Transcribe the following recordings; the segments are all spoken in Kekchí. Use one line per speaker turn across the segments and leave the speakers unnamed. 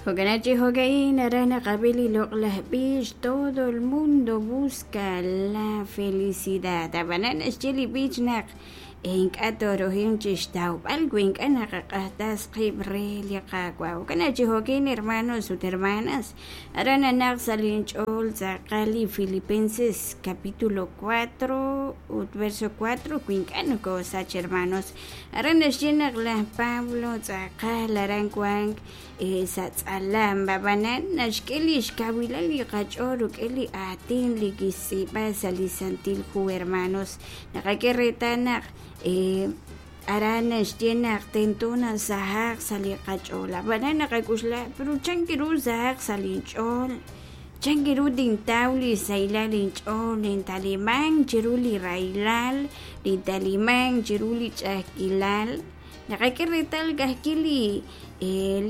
Jo'kan chi jo'ka'in aran naqab'i li loq'laj b'ich todo el mundo busca la felicidad ab'anan naxye li b'ich naq ink'a' toorohin chixtawb'al wi ink'a' naqaq'ajtas qib' re li Qaawa'. Jo'kan chi jo'kin hermanos ut hermanas aran nanaq sa' linch'ool tz'aqal li Filipenses capítulo 4 ut verso 4 wi ink'a' nokosach hermanos aran naxye naq laj Pablo tz'aqal aran wank sa' tz'alam ab'anan naxk'e li xkawilal li qach'ool rik'in li aatin li kixtz'iib'a sa' li Santil Hu hermanos naqak'e reetal naq aran naxye naq tento nasahaq sa' li qach'ool ab'anan naqak'uxla pero chan ru sahaq sa' linch'ool chan ru tintaw li sahilal inch'ool nintaliman chiru li rahilal nintaliman chiru li ch'a'ajkilal naqak'e reetal ka'ajwi' li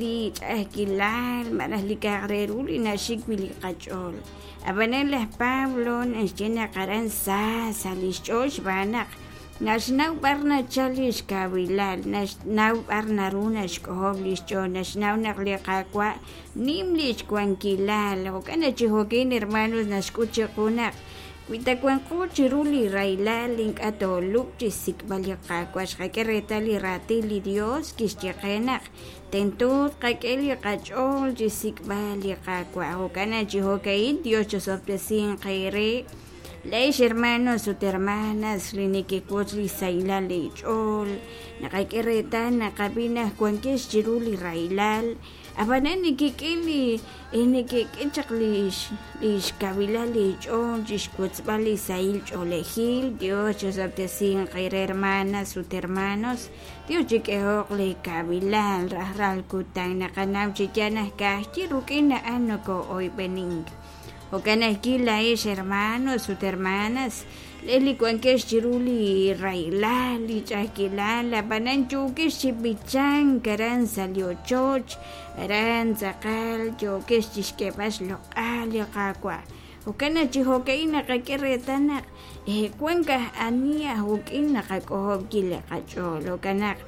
li ch'a'ajkilal malaj li k'a'aq re ru li naxik wi' li qach'ool ab'anan laj Pablo naxye naq aran sa sa' li xch'ool xb'aan naq naxnaw b'ar nachal li xkawilal naxnaw b'ar naru naxk'ojob' li xch'ool naxnaw naq li Qaawa' nim li xwankilal jo'kan naq chi jo'kin hermanos naxk'ut chiqu naq wi ta wanqo chiru li rahilal ink'a' toolub' chi xsik'b'al li Qaawa' xqak'e reetal li raatin li Dios kixye qe naq tento tqak'e li qach'ool chi xsik'b'al li Qaawa' jo'kan naq chi jo'ka'in Dios chosob'tesinq eere Leex hermanos ut hermanas li nekewotz li sahilal leech'ool naqak'e reetal naqab'i naq wankex chiru li rahilal ab'anan nekek'e li nekek'e chaq li xkawilal leech'ool chi xwotzb'al li sahil ch'oolejil Dios chosob'tesinq eere hermanas ut hermanos Dios chik'ehoq li kawilal rajlal kutan naqanaw chi yaal naq ka'ajwi' rik'in a'an nokoo'oyb'enink Jo'kan ajwi' laa'ex hermanos ut hermanas le li wankex chiru li rahilal li ch'a'ajkilal ab'anan yookex chi b'ichank aran sa' li ochoch aran tz'aqal yookex chi xk'eeb'al xloq'al li Qaawa' jo'kan naq chi jo'ka'in naqak'e reetal naq wank aj ani aj wik'in naqak'ojob' wi' li qach'ool jo'kan naq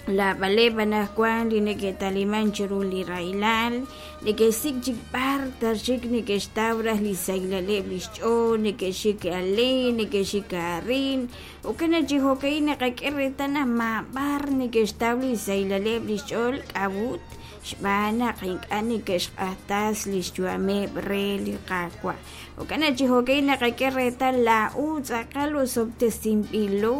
Laab'aleb' anaqwan li neke'taliman chiru li rahilal neke'xsik' chik b'ar ta xik neke'xtaw raj li xsahilaleb' li xch'ool neke'xik ale neke'xik arin jo'kan naq chi jo'ka'in naqak'e reetal naq maab'ar neke'xtaw li xsahilaleb' li xch'ool k'a'ut xb'aan naq ink'a' neke'xq'ajtas li xyu'ameb' re li Qaawa' jo'kan naq chi jo'ka'in naqak'e reetal laa'u tz'aqal osob'tesinb'ilo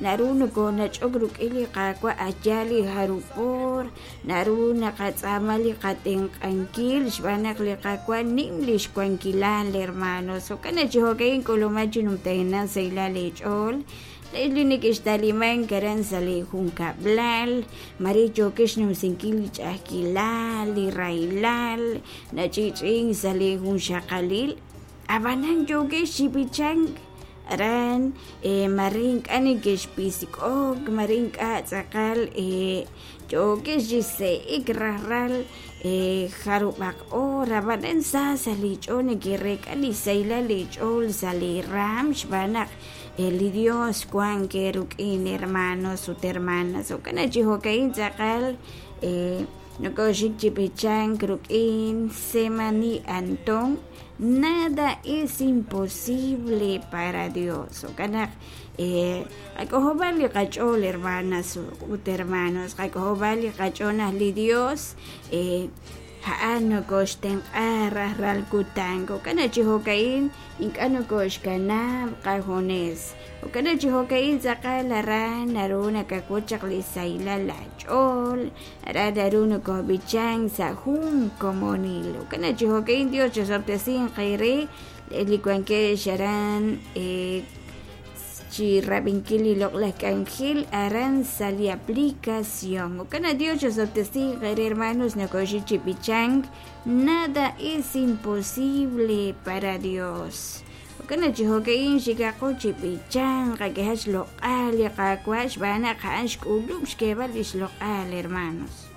naru nokonach'ok rik'in li Qaawa' aya li jarub' oor naru naqatz'aama li qatenq'ankil xb'aan naq li Qaawa' nim li xwankilal hermanos jo'kan naq chi jo'ka'in k'uluma chi numtajenaq sahilal eech'ool li neke'xtalimank aran sa' li junkab'lal mare yookex xnumsinkil li ch'a'ajkilal li rahilal nach'i'ch'i'ink sa' li junxaqalil ab'anan yookex chi b'ichank aran mare ink'a' neke'xpisk'ok mare ink'a' tz'aqal yookex chi se'ek rajlal jarub'aq oor ab'anan sa sa' li ch'ool neke'reek'a li sahilal li ch'ool sa' li raam xb'aan naq li Dios wank eerik'in hermanos ut hermanas jo'kan naq chi jo'ka'in tz'aqal nokoxik chi b'ichank rik'in Semani Antón nada es imposible para Dios jo'kan naq qak'ojob'al li qach'ool hermanas ut hermanos qak'ojob'al li qach'ool naq li Dios a'an nokoxtenq'a rajlal kutan jo'kan naq chi jo'ka'in ink'a' nokoxkanab' qajunes jo'kan naq chi jo'ka'in tz'aqal aran naru nakawotz chaq li sahilal laach'ool aran naru nokob'ichank sa' jun komonil jo'kan naq chi jo'ka'in Dios chosob'tesinq eere li wankex aran chi rab'inkil li loq'laj k'anjel aran sa' li aplicación jo'kan naq Dios chosob'tesinq eere hermanos nokoxik chi b'ichank nada es imposible para Dios jo'kan naq chi jo'ka'in xikaqo chi b'ichank qak'ehaq xloq'al li Qaawa' xb'aan naq a'an xk'ulub' xk'eeb'al li xloq'al hermanos.